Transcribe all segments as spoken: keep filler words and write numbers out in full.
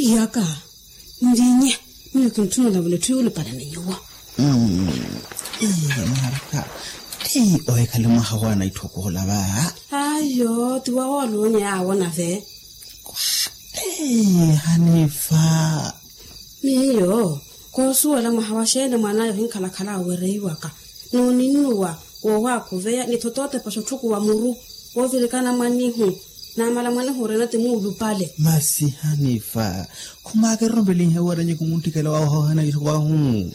Iyaka, nlinye, miyo kintthuna olavula etthu yuulupalani nyuwo. Mwaraka, ti ohikhale mwaha wa naitthokoola va? Ayo ti wawoolonye yaawo nave. Hanifa. Miyo koosuwela mwaha wa xeeni mwan'aya ohinkhalakhala awereiwaka, n'uninnuwa woowakhuveya ni thotootepa xotthukhuwa muru, woovirikana mwanihu. Namala mwanehu orena ti muulupale. Masi hanifa, khumaakererompelinhe wira nyuwo khumuntthikhela wawe ohoohana itthu wahu.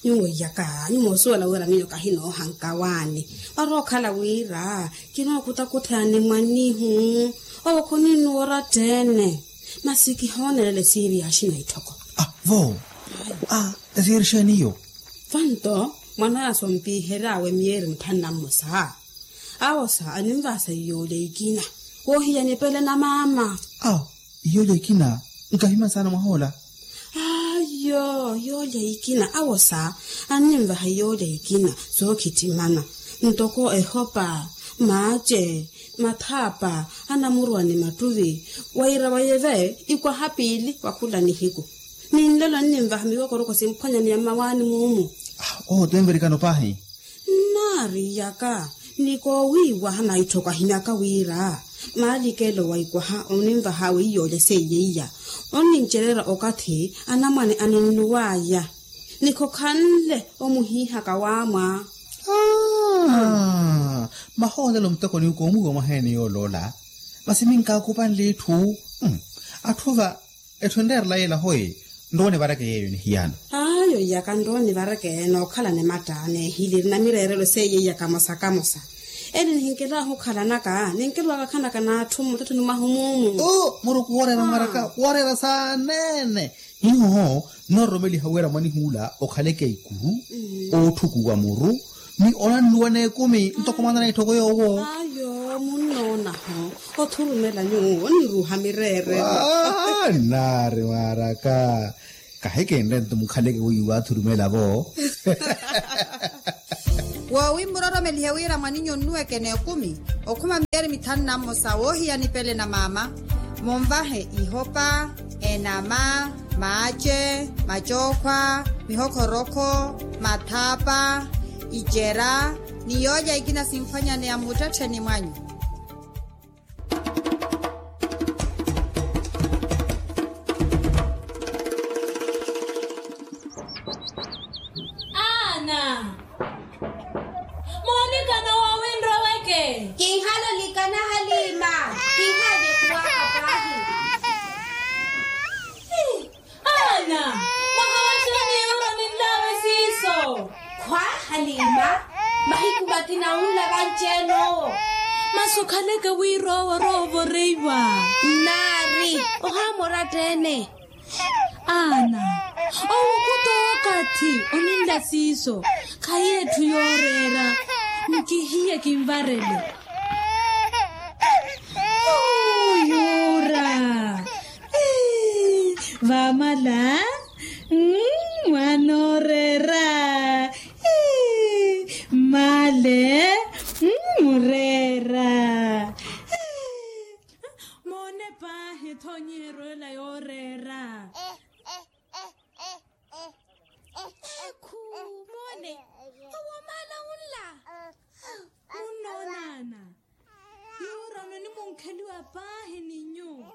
Nyuwo iyaka nyuwo osuwela wira miyo kahinoohanka waani, parookhala wira kinookutakutha ni mwanihu. Owo khuninnuwa oratta-ene. Masi kihoonelela esiiri ya axina itthoko. Vo. Esiiri xeeni iyo? Vanto mwan'aya sompiheryawe miyeeri mitthanu na mmosa. Awosa aninvahasa iyoolya ikina, woohiya nipele na maama. Awo iyoolya ikina? Nkahimani saana mwahoola. Ayo iyoolya ikina awosa aninvaha iyoolya ikina, sookhittimana ntoko ehopa, maace, mathaapa, anamurwa ni mattuvi. Wira wayeve ikwaha piili wa khula nihiku. Ni nlelo nninvaha miwokoroko simphwanyaneya mmawaani muumu. Oho ti nvirikano paahi. Nnaari iyaka, ni koowiiwaha naitthoko ahinyaka wira maalikelo wa ikwaha oninvaha weiyoolya seiye iya, onnincererya okathi anamwane aninnuwaya. Ni khokhanle omuhiihaka waamwa. Mahoolelo muteko ni koomuwiwa mwaheeni yooloola. Masi minkaakupanle itthu. Atthu va etthu enreerela yeela hoyi. Nrowa onivareke yeeyo nihiyano. Ayo iyaka nrowa onivareke nookhala ni matta neehiliri na mireerelo seiye iyaka mosa kamosa. Ene nihinkelaahu okhalanaka ninkelowaka khanaka n'atthu mmuttettheni mwahu muumu. Muruku wooreera mwaraka wooreera saaneene. Hiho nnoororomeliha wira mwanihuula okhaleke ikuru, ootthukuwa muru, ni onannuwa n'ekumi ntoko mwaana na itthoko yoowo. Ayo munnoonaho othurumela nyuwo onniruuha mireerelo. Nnaari mwaraka. Kahikinre nto mukhaleke wiiwa athurumela vo. Woowi mmuroromelihe wira mwaninyu onnuweke n'ekumi okhuma miyeeri mithanu na mmosa woohiya nipele na maama. Munvahe ihopa, enama, maace, macookhwa, mihokhorokho, mathaapa, icera, ni yoolya ikina simphwanyaneya mmuttettheni mwanyu. Ana, moonikana woowi nroweke? Kinhale olikana haliima. Kinhale kuwaka paahi. Ana, mwaha wa xeeni yuura oninlaawe siiso? Khwa, haliima. Mahiku makina unla vanci-ene owo. Masi okhaleke wira owo orowa ovoreiwa. Nnaari. Ohaama oratta-ene. Ana, owo khutookathi oninla siiso. Khayi etthu yooreera. Nkihiye kinvarele. Yuura. Vaamala. Mwaana ooreera. Mmale. Mureera. Moone paahi ethonyiheryo ela yooreera. Ekhu, moone. Owo maala unla. Munnoonana. Yuurano nimunkheliwa paahi ni nyuwo.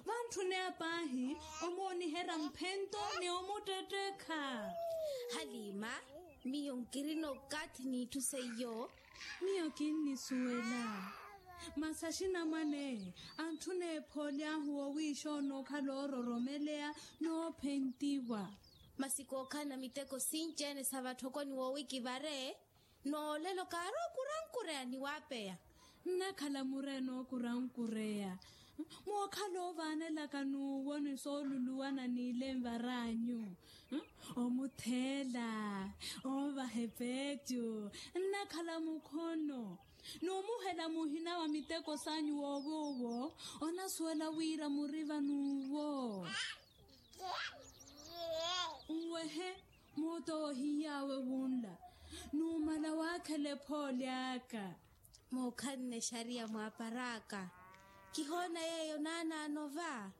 Vantthune apaahi omooniherya mphento ni omuttettekha. Haliima, miyo nkirina okathi n'itthu seiyo. Miyo kinnisuwela. Masi axinamwane antthuna ephooly'ahu woowiixa onookhala oororomeleya noophentiwa. Masi kookhalana miteko sinci-ene sa vatthokoni woowi kivare. Noolelo kaari okurankureya ni waapeya. Nnakhala murena okurankureya. Mookhala oovaanelaka n'uwo ni sooluluwana n'ile nvar'anyu. Omutheela, oovaha epeecu, nnakhala mukhono. N'umuhela muhina wa miteko s'anyu woowi owo onasuwela wira muri van'uwo. Nwehe. Moota woohiy'awe wunla numala waakhela ephoole aka. Mookhanne exariya mwaapar'aka. Kihoona yeeyo naanaano va.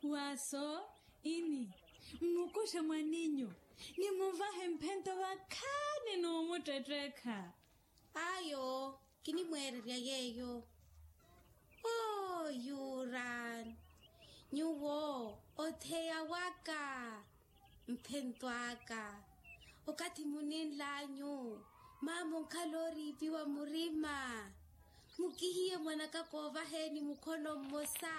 Waaso. Ini mmukuxe mwaninyu, nimunvahe mphento vakhaani n'umuttettekha. Ayo, kinimweererya yeeyo. Oo yuran, nyuwo otheya waka, mphento aka. Okathi muninl'anyu, maama onkhala ooriipiwa murima. Mukihiye mwanaka koovaheni mukhono mmosa.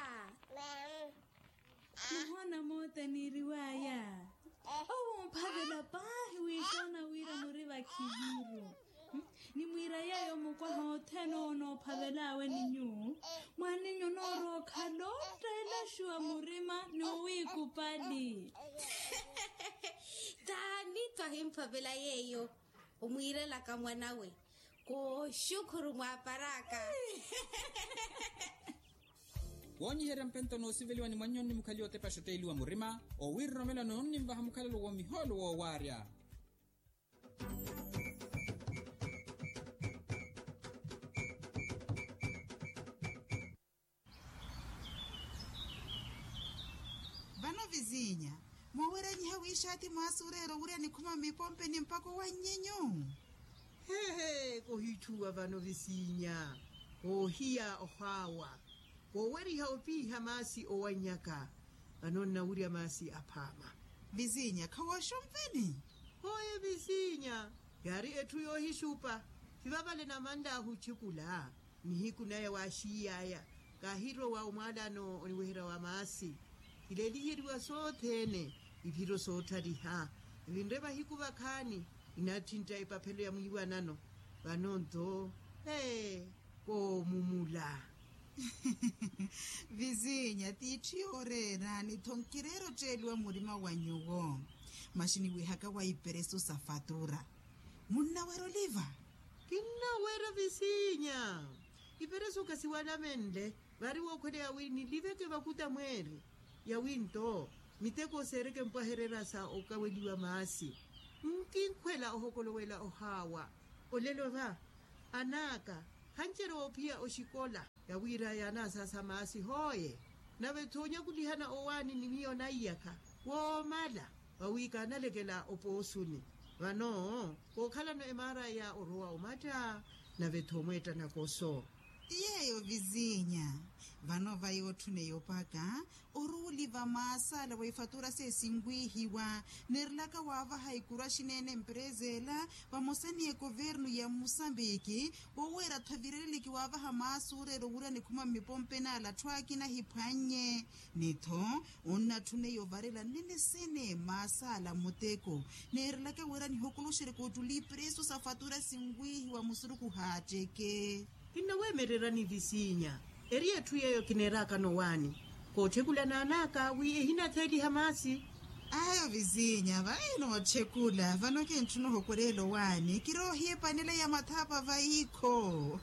Muhona moota niiriwaya, owo omphavela paahi wiixoona wira muri vakhiviru. Nimwiira yeeyo mukwaha othene owo noophavel'awe ni nyuwo. Mwaninyu onoorowa okhala ootteelaxuwa murima ni owiikupali. Taani twahimphavela yeeyo. Omwiirelaka mwanawe, kooxukhuru mwaapar'aka. Woonyiherya mphento noosiveliwa ni mwannyoni mukhaliwa otepa xotteeliwa murima, owiiroromela noonnimvaha mukhalelo wa mihoolo woowaarya. Vano vizinya, mooweranyiha wiixaati mwaasi oreera owurya nikhuma mmipompeni mpakha owannyenyu. Hehe, kohitthuwa vano vizinya, koohiya ohaawa, kooweriha opiiha maasi owannyaka. Vano nnawurya maasi aphaama. Vizinya khawooxonveni? Hooye vizinya, yaari etthu yoohixupa. Vivavale namanl'ahu otthikula. Nihiku naya waaxiiy'aya, kaahirowa omwaalano oniweherya wa maasi. Kileeliyeriwa sothene, iphiro soottaliha. Evinre vahiku vakhaani, inaattintta epaphelo ya mwiiwanano. Vano nto, ee, koomumula. Vizinya tiitthu yooreera ni tho nkireera otteeliwa murima wa nyuwo. Masi niwihaka wa iperesu sa fatura, munnawerya oliva? Kinnawerya vizinya. Iperesu khasiwalamenle, vaari wookhweleya wi niliveke vakuta mweeri. Yawi nto miteko seereke mpwahererya sa okaweliwa maasi. Nkinkhwela ohokolowela ohaawa. Olelo va, an'aka khancerya woophiya oxikola. Yawiira yaanaasasa maasi hooye, nave-tho onyakulihana owaani ni miyo naiyakha woomala, vawi kaanalekela opoosuni. Vano kookhalano emaara ya orowa omatta, nave-tho omweetta nakoso. Ti yeeyo vizinya. Vano vayi otthuneya opaka oruuli va maasala wa ifatura seesinwihiwa, neerelaka waavaha ikuru axinene mperezela vamosa ni ekovernu ya musambiki. Woweera-tho avireleliki waavaha maasi oreera owurya nikhuma mmipompeni ala atthu akina ahiphwannye. Ni-tho onnatthuneiya ovarela nnene sene maasi ala muteko, neerelaka wira nihokoloxereke ottuli ipresu sa fatura sinwihiwa musurukhu haatteke. Kinnaweemererani visinya, eri etthu yeeyo kineeraakano owaani, kootthekulana an'aka wi ehinatheeliha maasi. Ayo visinya vayi nootthekula vano kintthuna ohokoreela owaani kiroohiya epanela ya mathaapa vayi kho.